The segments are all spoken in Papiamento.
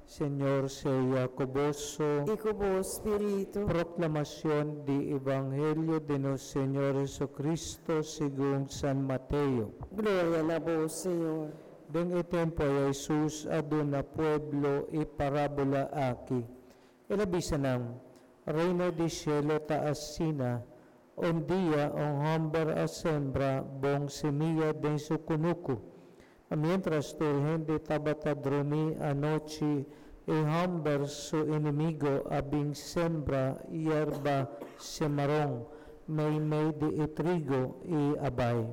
Señor sea ku boso. I ku bo spiritu. Proclamación di Evangelio de nos Señor Jesucristo según San Mateo. Gloria na bo, Señor. Den e tempo ei Jesus a duna pueblo e parábola aki. El a bisa nan, Reino di cielo ta asina, Un dia un homber a sembra bon semilla den su cunucu. Ma mientras tur hende tabata drumi anochi, e homber su enemigo a bin sembra yerba cimarron meimei di e trigo i a bai.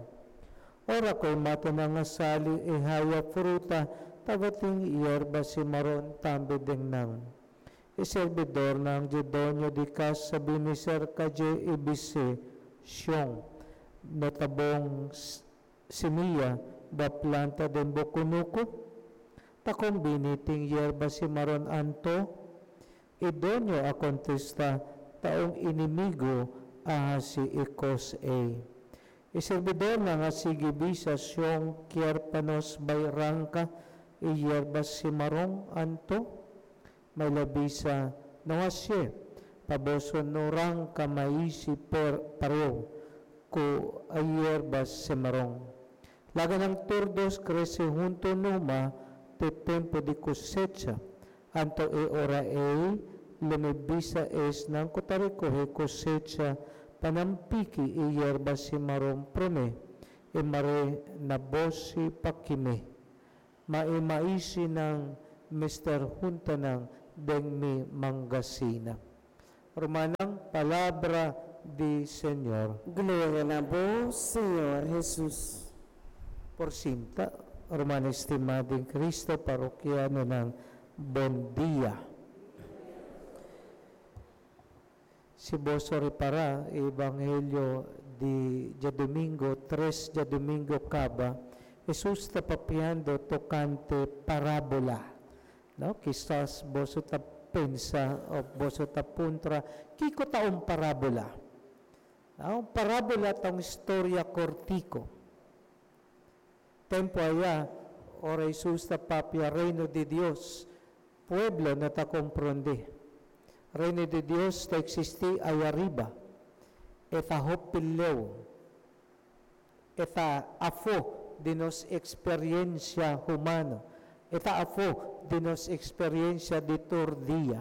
Ora cu e matanan a sali i haya fruta, tabatin yerba cimarron tambe den nan. E sirbidornan dje doño di cas a bini cerca dje i bis'é, Shon, no ta bon simia bo a planta den bo cunucu? Ta con bini tin yerba cimarron anto? E doño a contestá, Ta un enemigo a haci e cos ei. E sirbidornan a sigui bisa, Shon kier pa nos bai ranca e yerba cimarron anto? Ma el a bisa, No hacié, pa boso no ranca maisi per pareu cu e yerba cimarron. Laga nan tur dos crece hunto numa te tempo di cosecha. Anto e ora ei lo mi bisa esnan cu ta recoge cosecha pa nan piki e yerba cimarron prome i mar'é na boshi pa kim'é. Ma e maishinan mester hunta nan den mi mangasina. Rumannan, palabra di Señor. Gloria na bo, Señor Jesus. Por sinta, ruman estimá den Cristo, parokianonan, bon dia. Si boso ripará, e Evangelio di djadumingu, tres djadumingu kaba, Hesus ta papiando tokante parábola. No? Kisas boso ta pensa òf boso ta puntra, Kiko ta un parábola? No? Un parábola ta un storia kortiku. Tempu ayá, ora Hesus ta papia Reino di Dios, pueblo no ta komprondé. Reino di Dios ta eksistí ayariba. E ta hopi leu. E ta afó di nos eksperiensia humano. E ta afó di nos eksperiensia di tur dia.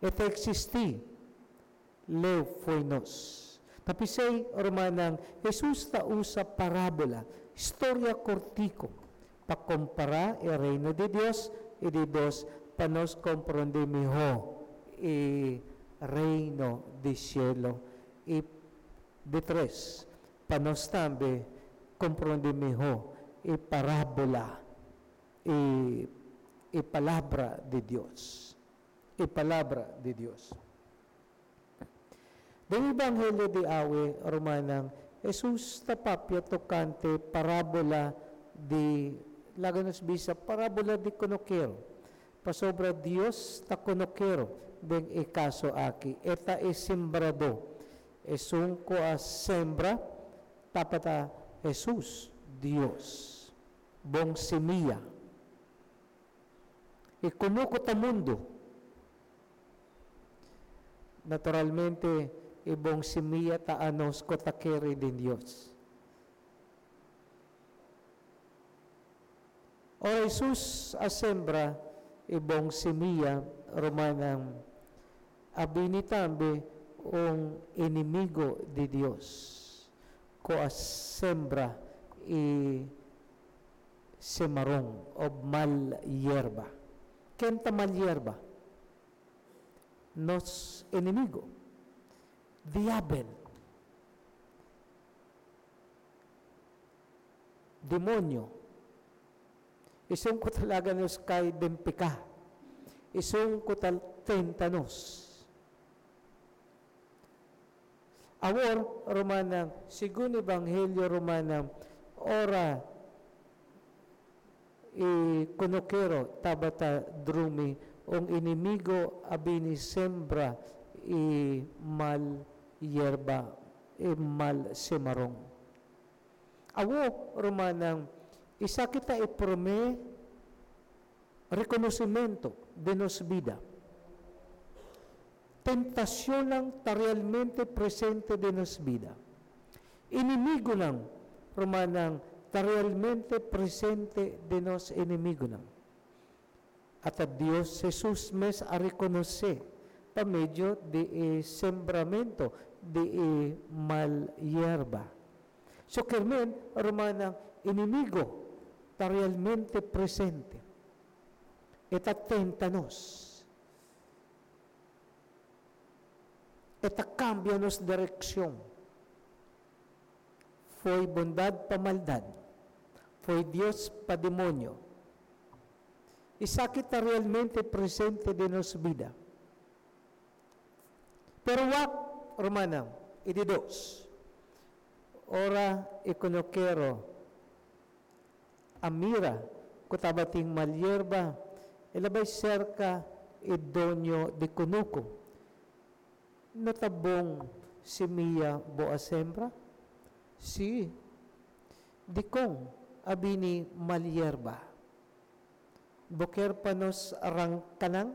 E ta eksistí leu fo'i nos. Ta p'esei, rumannan, Hesus ta usa parábola, storia kortiku, pa kompará e Reino di Dios i di dos pa nos komprondé mihó e Reino di shelu i di tres pa nos tambe komprondé mihó e parábola i e Palabra di Dios. E Palabra di Dios. Den Evangelio di awe, rumannan, Hesus ta papia tokante parábola di, laga nos bisa, parábola di kunukero. Pasobra Dios ta kunukero den e kaso aki. E ta e sembradó. Esun ku a sembra tabata Hesus, Dios. Bon simia. E kunuku ta mundu. Naturalmente, e bon simia ta anos ku ta kere den Dios. Ora Hesus a sembra e bon simia, rumannan, a bini tambe un enemigo di Dios ku a sembra e Semarón of mal yerba. Ken ta mal yerba? Nos enemigo, Diabel. Demonio. Esun ku ta laga nos kai den peká. Esun ku ta tenta nos. Awor, rumannan, segun Evangelio, rumannan, ora e kunukero tabata drumi, un enemigo a bini sembra e mal yerba, e mal semarón. Awor, rumannan, esaki ta e promé. Reconocimento den nos bida. Tentacionnan ta realmente presente den nos bida. Enemigonan, rumannan, ta realmente presente den nos enemigonan. Ata Dios Jesus mes a reconoce pa medio di e sembramento di e mal yerba. So kermen, rumannan, enemigo ta realmente presente. E ta tenta nos. E ta cambia nos direccion. Fo'i bondad pa maldad. Fo'i Dios pa demonio. Esaki ta realmente presente den nos bida. Pero wak, rumannan, e di dos. Ora e kunukero a mira ku tabatin mal yerba, el a bai serka e doño di kunuku. No ta bon simia bo a sembra? Sí. Dikon a bini mal yerba? Bo kier pa nos ranka nan?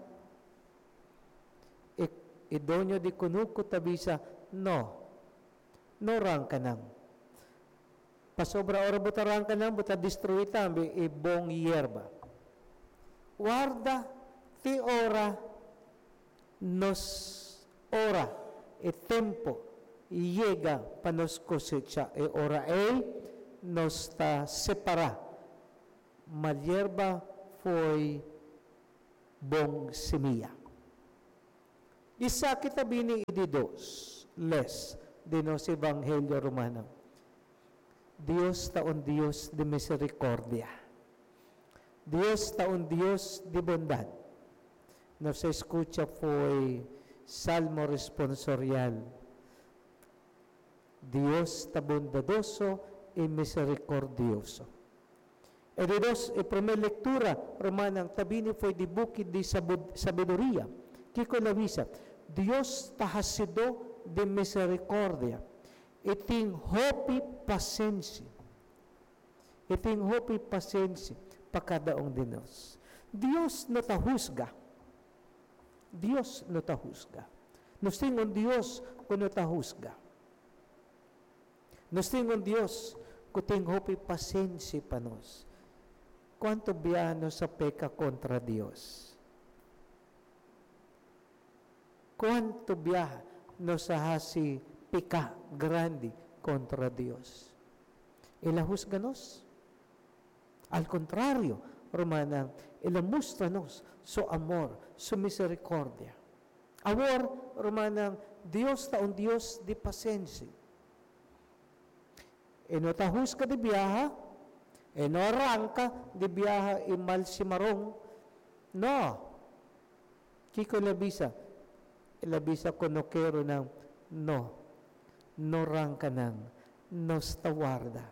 E e doño di kunuku ta bisa, No. No ranka nan. Pasobra ora bo ta ranka nan, bo ta destruí tambe e bon yerba. Warda te ora nos ora, e tempo, yega pa nos kosecha. E ora ei nos ta separá mal yerba fo'i bon simia. Esaki ta bini e di dos les di nos Evangelio, rumannan. Dios ta un Dios di misericordia. Dios ta un Dios di bondad. Nos a scucha fo'i Salmo responsorial. Dios ta bondadoso y misericordioso. E di dos, e prome lectura, rumannan, ta bini fo'i di buki di Sabiduria. Kico el a bisa? Dios ta hacido di misericordia. E tin hopi pasenshi. E tin hopi pasenshi pa cada un di nos. Dios no ta husga. Dios no ta husga. Nos tin un Dios cu no ta husga. Nos tin un Dios cu tin hopi pasenshi pa nos. Cuanto bia nos a peca contra Dios? Cuanto bia nos a haci pica grandi contra Dios? El a husga nos? Al contrario, rumannan, el a mustra nos su amor, su misericordia. Awor, rumannan, Dios ta un Dios di pasenshi. E no ta husga di biaha, e no a ranca di biaha e mal cimaron. No! Kico el a bisa? El a bisa conokeronan, No, no ranca nan, nos ta warda.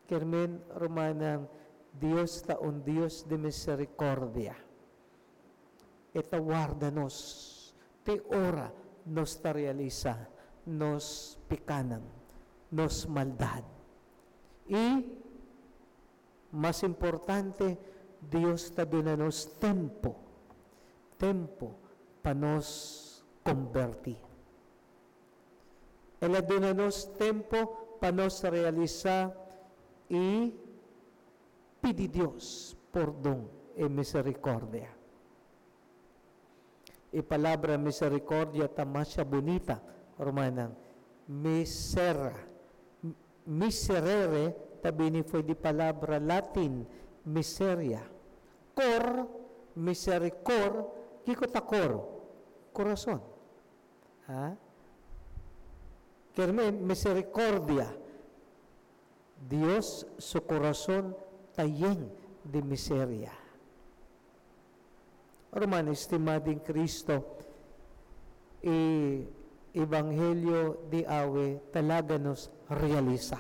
Kermen, rumannan, Dios ta un Dios di misericordia. E ta warda nos te ora nos ta realisa nos picanan, nos maldad. Y, mas importante, Dios ta duna nos tempo, tempo pa nos conberti. El a duna nos tempo pa nos realisa y pidi Dios pordon y misericordia. E palabra misericordia ta masha bunita, rumannan. Misera, miserere ta bini fo'i di palabra Latin miseria. Cor, misericor, kico ta cor? Corazon. Ha? Kermen misericordia. Dios su corazon ta yen di miseria. Ruman estimá den Cristo, e Evangelio di awe ta laga nos realisa.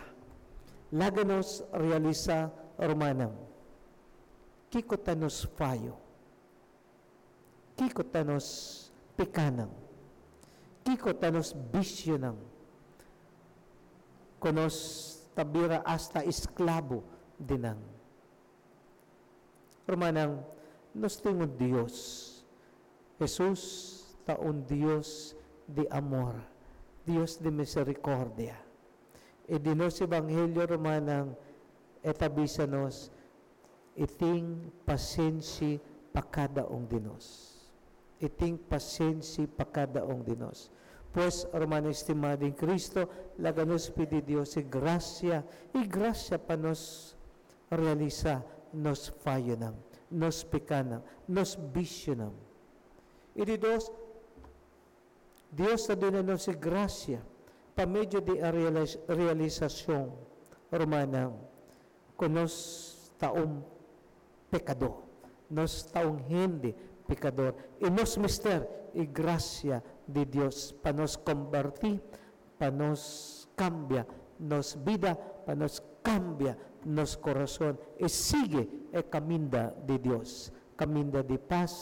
Laga nos realisa, rumannan, kico ta nos fayo. Kiko ta nos pekanan? Kiko ta nos bisionan ku nos ta bira asta esklabo di nan? Rumannan, Nos tin un Dios. Jesus ta un Dios di amor, Dios di misericordia. E di nos Evangelio, rumannan, e ta bisa nos, e tin pasenshi pa cada un di nos. E tin pasenshi pa cada un di nos. Pues, ruman stima den Cristo, laga nos pidi Dios e gracia, e gracia pa nos realisa nos fayonan, nos picanan, nos visionan. E di dos, Dios ta duna nos e gracia pa medio di realisacion, rumannan, cu nos ta un pecador. Nos ta un hende pecador. E nos mester e gracia di Dios pa nos converti, pa nos cambia nos vida, pa nos cambia nos corazon e sigue e caminda di Dios, caminda di paz.